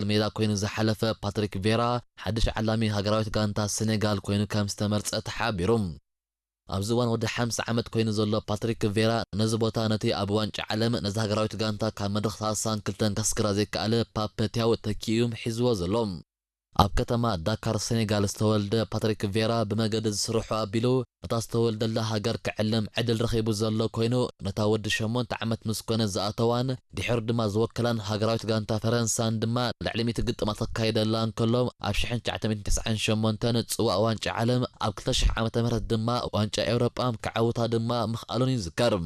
ማእከል ሜዳ ኮይኑ ዝሓለፈ ፓትሪክ ቬራ፣ ሓድሽ ዓላሚ ሃገራዊት ጋንታ ሴኔጋል ኮይኑ ከም ዝተመርጸ ተሓቢሩ። ኣብዚ እዋን ወዲ ሓምሳ ዓመት ኮይኑ ዘሎ ፓትሪክ ቬራ፣ ነዚ ቦታ ነቲ ኣብ ዋንጫ ዓለም ነዚ ሃገራዊት ጋንታ ካብ መድረኽ ሰላሳን ክልተን ከስግራ ዘይከኣለ ፓፐ ቲያው ተኪኡ ሒዝዎ ዘሎ። ኣብ ከተማ ዳካር ሴኔጋል ዝተወልደ ፓትሪክ ቬራ፣ ብመገዲ ዝስርሑ ኣቢሉ ነታ ዝተወልደላ ሃገር ክዕለም ዕድል ረኺቡ ዘሎ ኮይኑ፣ ነታ ወዲ ሸሞንተ ዓመት ምስ ኮነ ዝኣተዋን ድሒሩ ድማ ዝወከላን ሃገራዊት ጋንታ ፈረንሳን ድማ ልዕሊ ሚእቲ ግጥማት ከካይደላ እንከሎ፣ ኣብ ሽሕን ትሽዓተ ሚእትን ተስዓን ሸሞንተን ጽዋእ ዋንጫ ዓለም፣ ኣብ ክልተ ሽሕ ዓመተ ምህረት ድማ ዋንጫ ኤውሮጳ ክዓውታ ድማ ምኽኣሉን ይዝከር።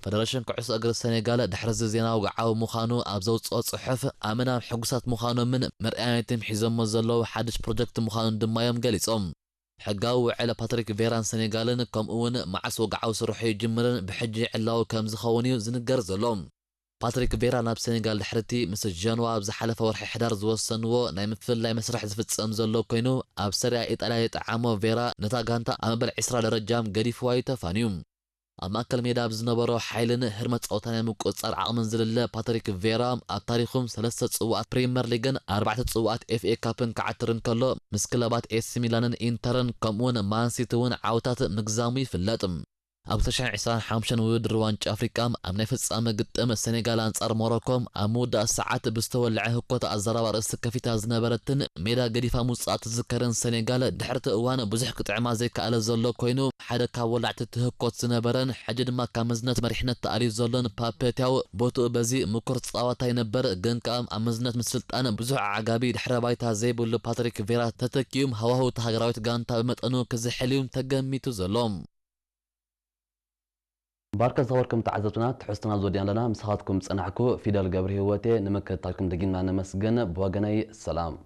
ፈደረሽን ኩዕሶ እግሪ ሴኔጋል ድሕሪ እዚ ዜና ወግዓዊ ምዃኑ ኣብ ዘውጽኦ ጽሑፍ፣ ኣመና ሕጉሳት ምዃኖምን መርኣያነትን ሒዞሞ ዘለዉ ሓድሽ ፕሮጀክት ምዃኑን ድማ እዮም ገሊጾም። ሕጋዊ ውዕል ፓትሪክ ቬራን ሴኔጋልን፣ ከምኡ እውን መዓስ ወግዓዊ ስርሑ ይጅምርን ብሕጂ ዕላዊ ከም ዝኸውን እዩ ዝንገር ዘሎ። ፓትሪክ ቬራ ናብ ሴኔጋል ድሕርቲ ምስ ጀንዋ ኣብ ዝሓለፈ ወርሒ ሕዳር ዝወሰንዎ ናይ ምፍልላይ መስርሕ ዝፍጸም ዘሎ ኮይኑ፣ ኣብ ሰሪያ ኢጣልያ የጠዓሞ ቬራ፣ ነታ ጋንታ ኣብ መበል ዕስራ ደረጃም ገዲፍዋ እዩ ተፋንዩ። ኣብ ማእከል ሜዳ ኣብ ዝነበሮ ሓይልን ህርመት ጸወታ ናይ ምቁጽጻር ዓቕምን ዝልለ ፓትሪክ ቬራ፣ ኣብ ታሪኹም ሰለስተ ጽዋኣት ፕሪምየር ሊግን ኣርባዕተ ጽዋኣት ኤፍ ኤ ካፕን ክዓትር እንከሎ፣ ምስ ክለባት ኤሲ ሚላንን ኢንተርን ከምኡውን ማንሲቲ እውን ዓወታት ምግዛሙ ይፍለጥ። ኣብ ክልተ ሽሕን ዕስራን ሓሙሽተን ውድድር ዋንጫ ኣፍሪቃ፣ ኣብ ናይ ፍጻመ ግጥም ሴኔጋል ኣንጻር ሞሮኮ፣ ኣብ ምውዳእ ሰዓት ብዝተወልዐ ህኮት ኣዘራባ ርእሲ ከፊታ ዝነበረትን ሜዳ ገዲፋ ምውጻኣ ትዝከርን ሴኔጋል፣ ድሕርቲ እዋን ብዙሕ ክጥዕማ ዘይከኣለ ዘሎ ኮይኑ፣ ሓደ ካብ ወላዕቲ እቲ ህኮት ዝነበረን ሕጂ ድማ ካብ መዝነት መሪሕነት ተኣልዩ ዘሎን ፓፔ ቲያው፣ ቦትኡ በዚ ምኩር ተጻዋታይ ነበር፣ ግን ከኣ ኣብ መዝነት ምስልጣን ብዙሕ ኣዕጋቢ ድሕረ ባይታ ዘይብሉ ፓትሪክ ቬራ ተተኪኡም፣ ሃዋህው እታ ሃገራዊት ጋንታ ብመጠኑ ክዝሕል እዩ ተገሚቱ ዘሎ። ባርከ ዝኸበርኩም ተዓዘብትና፣ ትሕዝቶና ዝወዲና ኣለና። ምሳኻትኩም ዝጸናሕኩ ፊደል ገብረ ህይወቴ። ንምክትታልኩም ደጊምና ነመስግን። ብወገነይ ሰላም።